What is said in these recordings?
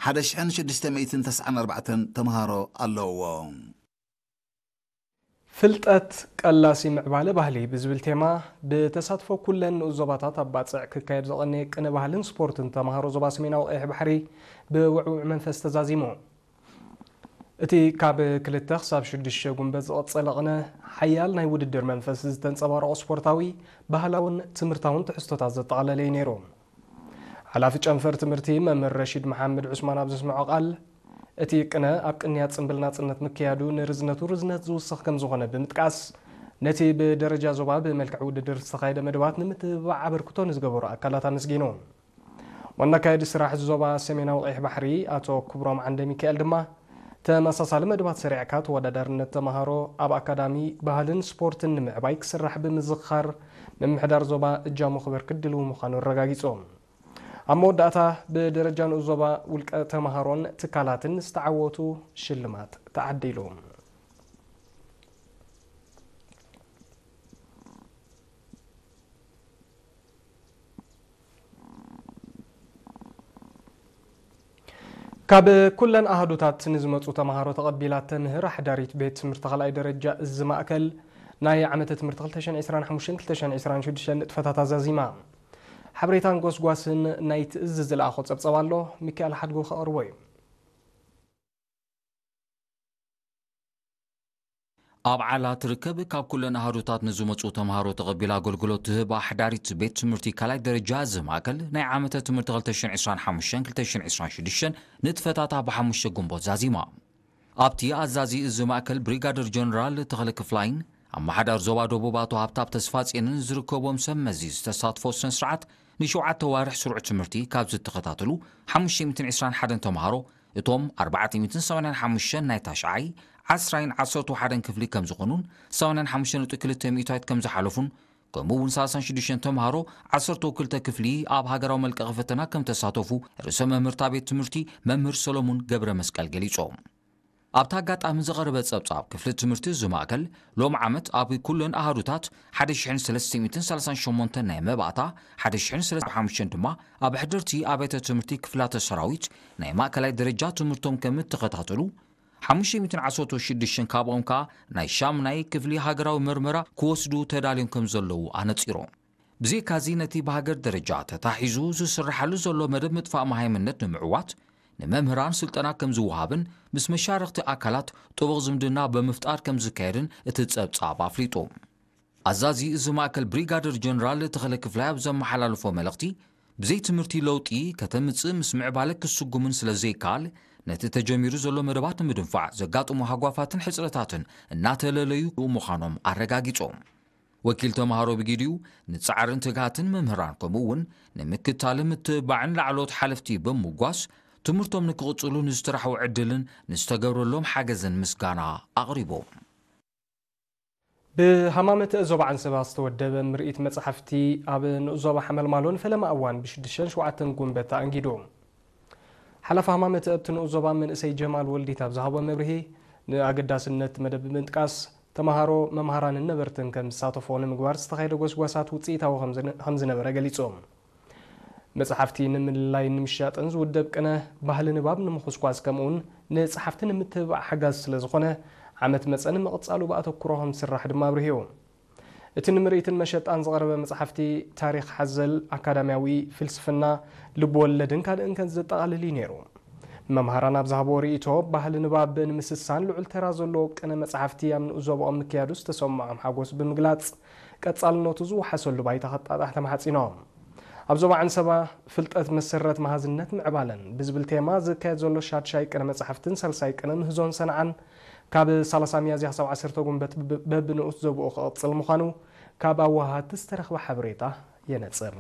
ሓደ ሽሕን ሽዱሽተ ሚእትን ተስዓን ኣርባዕተን ተምሃሮ ኣለውዎ። ፍልጠት ቀላሲ ምዕባለ ባህሊ ብዝብል ቴማ ብተሳትፎ ኩለን ንኡስ ዞባታት ኣብ ባጽዕ ክካየድ ዝቐነየ ቅነ ባህልን ስፖርትን ተምሃሮ ዞባ ሰሜናዊ ቀይሕ ባሕሪ ብውዕውዕ መንፈስ ተዛዚሙ። እቲ ካብ ክልተ ክሳብ ሽዱሽተ ጉንበት ዝቐጸለ ቅነ ሓያል ናይ ውድድር መንፈስ ዝተንጸባረቖ ስፖርታዊ፣ ባህላውን ትምህርታውን ትሕዝቶታት ዘጠቓለለ እዩ ነይሩ። ሓላፊ ጨንፈር ትምህርቲ መምህር ረሺድ መሓመድ ዑስማን ኣብ ዘስምዖ ቃል፣ እቲ ቅነ ኣብ ቅንያት ጽምብል ናጽነት ምክያዱ ንርዝነቱ ርዝነት ዝውስኽ ከም ዝኾነ ብምጥቃስ፣ ነቲ ብደረጃ ዞባ ብመልክዕ ውድድር ዝተኻየደ መደባት ንምትብባዕ ኣበርክቶ ንዝገበሩ ኣካላት ኣመስጊኑ። ዋና ኣካያዲ ስራሕ ዞባ ሰሜናዊ ቀይሕ ባሕሪ ኣቶ ክብሮም ዓንደ ሚካኤል ድማ፣ ተመሳሳሊ መደባት ሰሪዕካ ተወዳዳርነት ተምሃሮ ኣብ ኣካዳሚ ባህልን ስፖርትን ንምዕባይ ክስራሕ ብምዝኽኻር፣ ምምሕዳር ዞባ እጃሙ ክበርክት ድልው ምዃኑ ኣረጋጊጹ። ኣብ መወዳእታ ብደረጃ ንኡስ ዞባ ውልቀ ተምሃሮን ትካላትን ዝተዓወቱ ሽልማት ተዓዲሉ። ካብ ኩለን ኣሃዱታት ንዝመጹ ተምሃሮ ተቐቢላ ተምህር ኣሕዳሪት ቤት ትምህርቲ ካልኣይ ደረጃ እዚ ማእከል፣ ናይ ዓመተ ትምህርቲ ክልተ ሽሕን ዕስራን ሓሙሽተን ክልተ ሽሕን ዕስራን ሽዱሽተን ንጥፈታት ኣዛዚማ። ሓበሬታን ጎስጓስን ናይቲ እዚ ዝለኣኾ ጸብጸብ ኣሎ፣ ሚካኤል ሓድጉ ከቕርቦ እዩ። ኣብ ዓላ ትርከብ ካብ ኩለን ኣሃዱታት ንዝመጹ ተምሃሮ ተቐቢላ ኣገልግሎት ትህብ ኣሕዳሪት ቤት ትምህርቲ ካልኣይ ደረጃ እዚ ማእከል፣ ናይ ዓመተ ትምህርቲ ክልተ ሽሕን ዕስራን ሓሙሽተን ክልተ ሽሕን ዕስራን ሽዱሽተን ንጥፈታታ ብሓሙሽተ ግንቦት ዛዚማ። ኣብቲ ኣዛዚ እዚ ማእከል ብሪጋደር ጀነራል ተኽለ ክፍላይን ኣመሓዳር ዞባ ደቡብ ኣቶ ሃብታብ ተስፋጽዮንን ዝርከቦም ሰብ መዚ ዝተሳትፎ ስነ ስርዓት፣ ንሸውዓተ ዋርሕ ስሩዕ ትምህርቲ ካብ ዝተኸታተሉ ሓሙሽተ ሚእትን ዕስራን ሓደን ተምሃሮ፣ እቶም ኣርባዕተ ሚእትን ሰማንያን ሓሙሽተን ናይ ታሽዓይ፣ ዓስራይን ዓሰርተ ሓደን ክፍሊ ከም ዝኾኑን፣ ሰማንያን ሓሙሽተ ነጥቢ ክልተ ሚእታዊት ከም ዝሓለፉን፣ ከምኡ እውን ሰላሳን ሽዱሽተን ተምሃሮ ዓሰርተ ክልተ ክፍሊ ኣብ ሃገራዊ መልቀቒ ፈተና ከም ተሳተፉ ርእሰ መምህርታ ቤት ትምህርቲ መምህር ሰሎሙን ገብረ መስቀል ገሊጾም። ኣብቲ ኣጋጣሚ ዝቐረበ ጸብጻብ፣ ክፍሊ ትምህርቲ እዚ ማእከል ሎም ዓመት ኣብ ኩለን ኣሃዱታት ሓደ ሽሕን ሰለስተ ሚእትን ሰላሳን ሸሞንተን ናይ መባእታ፣ ሓደ ሽሕን ሰለስተ ሚእትን ሓሙሽተን ድማ ኣብ ኣሕደርቲ ኣብያተ ትምህርቲ ክፍላተ ሰራዊት ናይ ማእከላይ ደረጃ ትምህርቶም ከም እተኸታተሉ፣ ሓሙሽተ ሚእትን ዓሰርተ ሽዱሽተን ካብኦም ከኣ ናይ ሻምናይ ክፍሊ ሃገራዊ መርመራ ክወስዱ ተዳልዮም ከም ዘለዉ ኣነጺሮም። ብዘይካዚ፣ ነቲ ብሃገር ደረጃ ተታሒዙ ዝስርሓሉ ዘሎ መደብ ምጥፋእ መሃይምነት ንምዕዋት፣ ንመምህራን ስልጠና ከም ዝወሃብን ምስ መሻርኽቲ ኣካላት ጥቡቕ ዝምድና ብምፍጣር ከም ዝካየድን እቲ ጸብጻብ ኣፍሊጡ። ኣዛዚ እዚ ማእከል ብሪጋደር ጀነራል ተኽለ ክፍላይ ኣብ ዘመሓላለፎ መልእኽቲ፣ ብዘይ ትምህርቲ ለውጢ ከተምጽእ ምስ ምዕባለ ክስጉምን ስለ ዘይከኣል፣ ነቲ ተጀሚሩ ዘሎ መደባት ንምድንፋዕ ዘጋጥሙ ሃጓፋትን ሕጽረታትን እናተለለዩ ምዃኖም ኣረጋጊጾም። ወኪል ተምሃሮ ብጊዲኡ፣ ንጻዕርን ትግሃትን መምህራን ከምኡ እውን ንምክታልን ምትብባዕን ላዕለዎት ሓለፍቲ ብምጓስ፣ ትምህርቶም ንክቕጽሉ ንዝተራሕዎ ዕድልን ንዝተገብረሎም ሓገዝን ምስጋና ኣቕሪቦም። ብሃማመተ ዞባ ዓንሰባ ዝተወደበ ምርኢት መጽሓፍቲ ኣብ ንኡስ ዞባ ሓመልማሎን ፈለማ እዋን ብሽዱሽተን ሸውዓተን ጉንበት ተኣንጊዱ። ሓላፊ ሃማመተ ኣብቲ ንኡስ ዞባ መንእሰይ ጀማል ወልዲት ኣብ ዝሃቦ መብርሂ፣ ንኣገዳስነት መደብ ብምጥቃስ፣ ተምሃሮ፣ መምሃራንን ነበርትን ከም ዝሳተፎ ንምግባር ዝተኻየደ ጎስጓሳት ውጽኢታዊ ከም ዝነ-፣ ከም ዝነበረ ገሊጹ። መጽሓፍቲ ንምልላይን ንምሻጥን ዝውደብ ቅነ፣ ባህሊ ንባብ ንምኹስኳስ፣ ከምኡውን ንጸሓፍቲ ንምትብባዕ ሓጋዚ ስለ ዝኾነ፣ ዓመት መጸ ንምቕጻሉ ብኣተኩሮ ከም ዝስራሕ ድማ ኣብሪሁ። እቲ ንምርኢትን መሸጣን ዝቐረበ መጽሓፍቲ፣ ታሪኽ ሓዘል፣ ኣካዳሚያዊ፣ ፍልስፍና፣ ልብ ወለድን ካልእን ከም ዘጠቓልል እዩ ነይሩ። መምሃራን ኣብ ዝሃብዎ ርእይቶ፣ ባህሊ ንባብ ንምስሳን ልዑል ተራ ዘለዎ ቅነ መጽሓፍቲ ኣብ ንኡስ ዞባኦም ምክያዱ ዝተሰምዖም ሓጎስ ብምግላጽ፣ ቀጻልነቱ ዝወሓሰሉ ባይታ ከጣጣሕ ተማሕጺኖም። ኣብ ዞባ ዓንሰባ፣ ፍልጠት መሰረት መሃዝነት ምዕባለን ብዝብል ቴማ ዝካየድ ዘሎ ሻድሻይ ቅነ መጽሓፍትን ሳልሳይ ቅነ ምህዞን ሰንዓን፣ ካብ ሰላሳ ሚያዝያ ክሳብ ዓሰርተ ጉንበት ብ-፣ በብንኡስ ዞባኡ ክቕጽል ምዃኑ ካብ ኣወሃሃድቲ ዝተረኽበ ሓበሬታ የነጽር።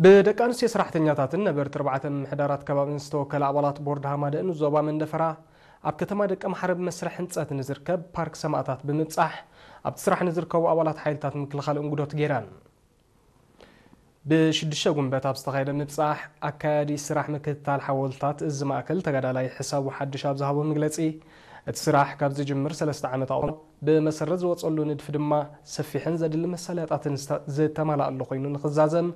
ብደቂ ኣንስትዮ ሰራሕተኛታትን ነበርቲ ኣርባዕተ ምምሕዳራት ከባብን ዝተወከለ ኣባላት ቦርድ ሃማደእን ዞባ መንደፈራ፣ ኣብ ከተማ ደቀ ምሓረ ብመስርሕ ህንጸት ንዝርከብ ፓርክ ሰማእታት ብምብጻሕ፣ ኣብቲ ስራሕ ንዝርከቡ ኣባላት ሓይልታት ምክልኻል እንጉዶት ገይረን። ብሽዱሽተ ጉንበት ኣብ ዝተኻየደ ምብጻሕ፣ ኣካያዲ ስራሕ ምክትታል ሓወልትታት እዚ ማእከል ተጋዳላይ ሕሳቡ ሓድሽ ኣብ ዝሃቦ መግለጺ፣ እቲ ስራሕ ካብ ዝጅምር ሰለስተ ዓመት ኣቑጺሩ፣ ብመሰረት ዝወጸሉ ንድፊ ድማ ሰፊሕን ዘድሊ መሳለጥያታትን ዝተ-፣ ዝተማልኣሉ ኮይኑ ንኽዛዘም